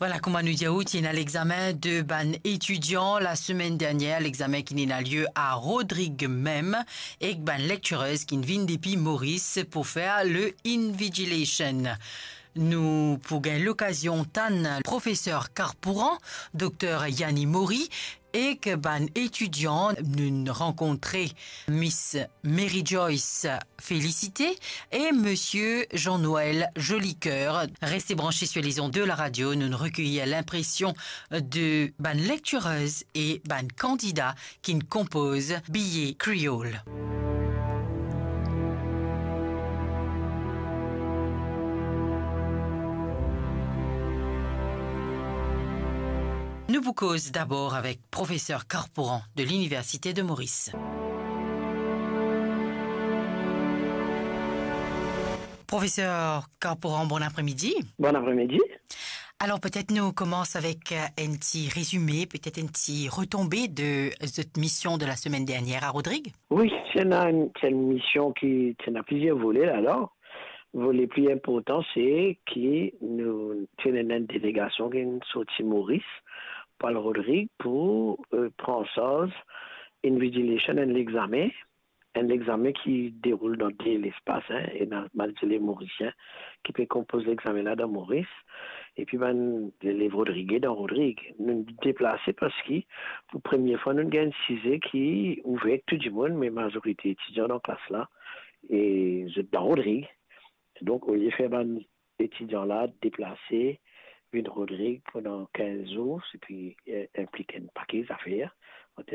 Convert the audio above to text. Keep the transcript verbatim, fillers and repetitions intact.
Ala, kouma nou dir ou, ti ena lexamen de bann etidian lasemenn dernier, lexamen ki inn ena lie a Rodrig mem, ek bann lecturers ki vinn depi Moris pou fer le invigilation. Nou pou gagn lokazion tann profeser Carpooran, dokter Yanni Mori, ek bann etidian. Nou'nn rankontre Miss Mary Joyce Félicité e Monsieur Jean-Noël Jolicoeur. Reste branche sur les ondes de la radio, nou'nn rekeir linpresion de bann lecturers e bann kandida ki'nn konpoz Bilye Kreol. Nou pou koz dabor avek profeser Carpooran de l'Université de Maurice. Profeser Carpooran, bon apremidi. Bon apremidi. Alor, petet nou koumans avek, euh, enn ti rezime, petet enn ti retonbe de zot mision de lasemenn dernier a Rodrig? Wi, ti ena enn, ti enn mision ki, ti ena plizier vole ladan. Vole pli inportan, se ki nou ti ena enn delegasion ki sorti Moris pou al Rodrig pou, euh, pran an sarz invigilation, enn lexamen, enn lexamen ki deroul dan de lespas, hein, ena bann zelev morisien ki pe konpoz lexamen la dan Moris, epi bann zelev rodrige dan Rodrig. Nou deplase parski pou premie fwa nou gagn size ki ouver tou dimoun, me mazorite etidian dan klas la, e zot dan Rodrig. Donk, olie fer bann etidian la deplase vinn Rodrig pandan kinz zour, epi, eh, inplik enn pake zafer an term